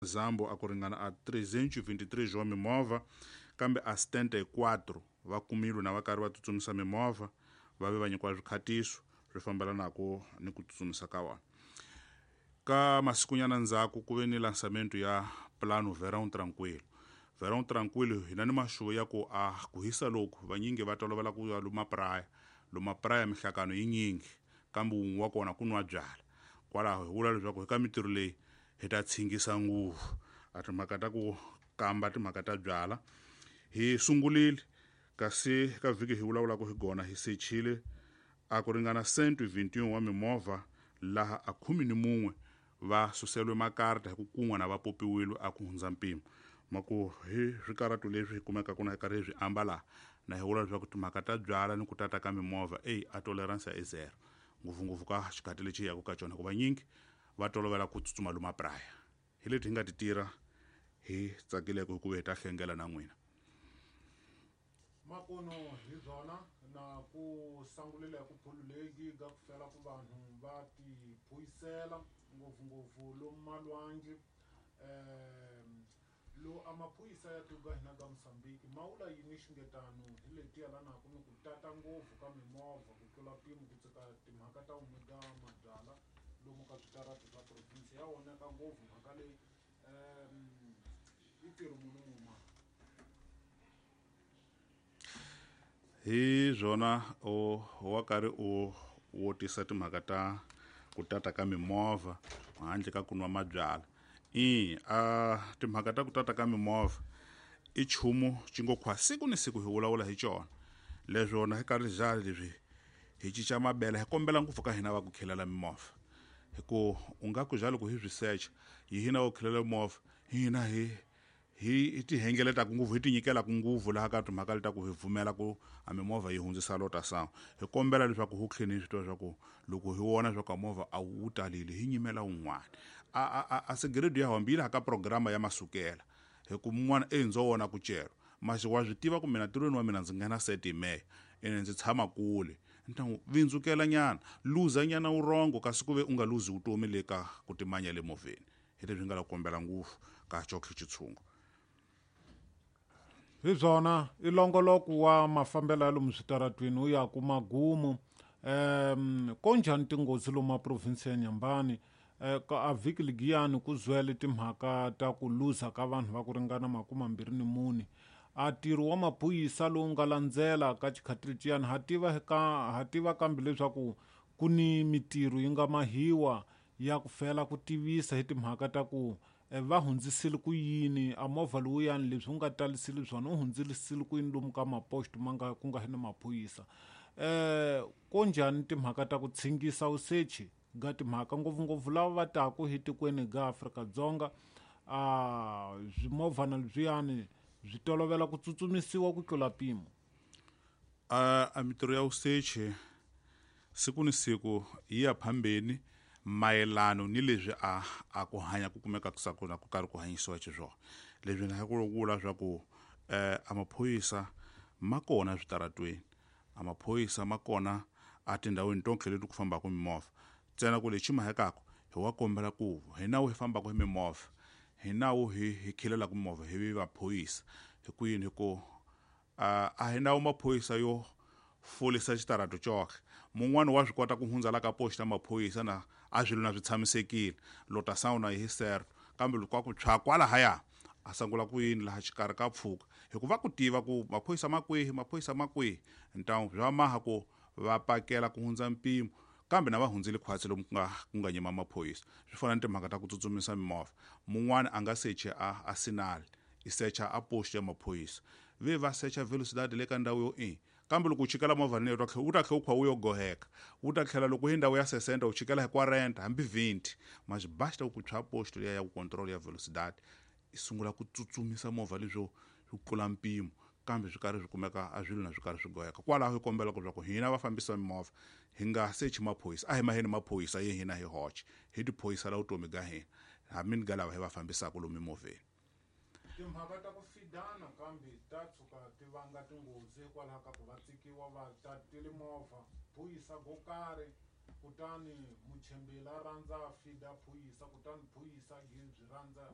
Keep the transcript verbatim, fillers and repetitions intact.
Zambo a ku ringana a trezentos e vinte e três wa mimovha kambe a setenta e quatro va kumilwe na va karhi va tsutsumisa mimovha va ve va nyikiwa swikhatiso swi fambelanaka ni ku tsutsumisa ka vona. Ka masikunyana ndzhaku ku ve ni lançamento ya plano Verão Tranquilo. Verão Tranquilo hina ni maxuvo ya ku a ku hisa loku vanyingi va tolovela ku ya luma praya luma praya mihlakano yi nyingi kambe wun'we wa kona ku nwa byala kwalaho hi vula leswaku hi ka mintirho leyi hi ta tshingisa nguvu a timhaka ta ku kamba timhaka ta byala hi sungurile kasi ka vhiki hi vulavulaka hi gona hi sechile a ku ringana cento e vinte e um wa mimovha laha a khume ni mun'we va suseliwe makarata hi ku kun'we na va popiwile a ku hundza mpimo ma ku hi swikaratu leswi hi kumekaka na hi karhi hi swi ambala na hi vula leswaku timhaka ta byala ni ku tata ka mimovha eyi a tolerance i zero ngopfungopfu ka xikhathi lexi hi yaka ka xona hikuva nyingi va tolovela ku tsutsuma lomu praya hi leti hi nga ti tirha hi tsakileke hikuva hi ta hlengela na n'wina. Makuno hi byona na ku sangulela hi ku phululeki ga ku fela ku vanhu va ti phuyisela ngopfungopfu lomu malwandle um lo a maphorisa ya tiko ka hina ka Mozambique ma vula yini xingetano hi leti yelanaka ni ku tata ngopfu ka mimovha ku tlula mpimo ku tsika timhaka ta omega mabyala lomu ka switarati swa province ya onhaka ngopfu mhaka leyi um i ntirho muni muma hi byona o wa karhi u wo tisa timhaka ta ku tata ka mimovha handle ka ku nwa mabyala i a timhaka ta ku tata ka mimovha i nchumu xi ngo khwa siku ni siku hi vulavula hi xona leswona hi karhi jali leswi hi cinca mabele hi kombela ngopfu ka hina va ku khelela mimovha hi ku u nga ku jali ku hi swi secha hi hina va ku khelela mimovha hina hi hi ti hengeletaka ngopfu hi ti nyikelaka ngopfu laha ka timhaka leta ku hi pfumela ku a mimovha yi hundzisa lota sangu hi kombela leswaku hu tlheni hi swi tiva leswaku loko hi vona leswaku a movha a wu talile hi nyimela wun'wana a a a segredo ya hambi yi laha ka programa ya masukela hi ku mun'wana e ndzo wona ku celwa masi wa swi tiva ku mina ntirhweni wa mina ndzi nghena sete meya ene ndzi tshama kule ni ta n'wi vindzukela nyana luza nyana wurongo kasi ku ve u nga luzi vutomi le ka ku timanya le movheni hi leswi nga la kombela ngopfu ka xokhe xitshungu. Hi byona i longoloko wa mafambelo ya lomu switaratwini wu ya ku magumu um ko njhani tinghozi lomu maprovinsi ya Nyambani ka a vhiki ligiyani ku zwele timhaka ta ku luza ka vanhu va ku ringana makume mambirhi ni mune a ntirho wa maphorisa lowu nga landzela ka xikhati leciyani ha tiva ka ha tiva kambe leswaku ku ni mitirho yi nga mahiwa ya ku fela ku tivisa hi timhaka ta ku va hundzisile ku yini a movha lowuyani leswi wu nga talisile swona wu hundzisile ku yini lomu ka maposto ma nga ku nga ni maphorisa um ko njhani timhaka ta ku tshingisa vusechi ga timhaka ngopfungopfu lava va taku hi tikweni ga Afrika-Dzonga a swimovhana leswiyani swi tolovela ku tsutsumisiwa ku tlula mpimo. A a mintirho ya vusechi siku ni siku yi ya phambeni mayelano ni leswi a a ku hanya ku kumeka ku ku karhi ku hanyisiwa xiswona leswi na ku vula swa ku eh a maphorisa ma kona switaratweni a maphorisa ma kona a tindhawini tonke leti ku fambaka mimovha ntsena ku lexi mahekaka hi wa kombela ku hi nawu hi fambaka hi mimovha hi nawu hi hi khelelaka mimovha hi vi maphorisa hi ku yini hi ku a a hi nawu maphorisa yo folisa xitarato xoxe mun'wani wa swi kota ku hundza la ka post ya maphorisa na a swilo na swi tshamisekile lota sound hi certo kambe loko a ku tshwa kwalahaya a sungula ku yini laha xikarhi ka pfuka hikuva ku tiva ku maphorisa ma kwihi maphorisa ma kwihi ntamu bya maha ku va pakela ku hundza mpimo kambe na va hundzile khwatsi lomu ku nga ku nga nyima maphorisa swi fana ni timhaka ta ku tsutsumisa mimovha mun'wani a nga sechi a a sinali i secha a post ya maphorisa ve va secha velocidade le ka ndhawu yo i kambe loko u chikela movha leyi wu ta tlhela wu kha wu yo goheka wu ta tlhela loko hi ndhawu ya sesenta u chikela hi quarenta hambi vinte mas basta ku tshwa post liya ya ku control ya velocidade i sungula ku tsutsumisa movha leswo swi tlula mpimo kambe swi karhi swi kumeka a swilo na swi karhi swi goheka kwalaho hi kombela ku leswaku hina vafambisi va mimovha hi nga sechi maphorisa a hi maheni maphorisa ye hina hi hoxe hi tiphorisa la vutomi bya hina hambi ni ga lava hi va fambisaka lomu mimovheni. Timhaka ta ku fidana kambe ta tshuka ti vanga tinghozi hikwalaho ka ku va tsikiwa va tatile movha phorisa go karhi kutani muchembeli a rhandza a fida phorisa kutani phorisa byi rhandza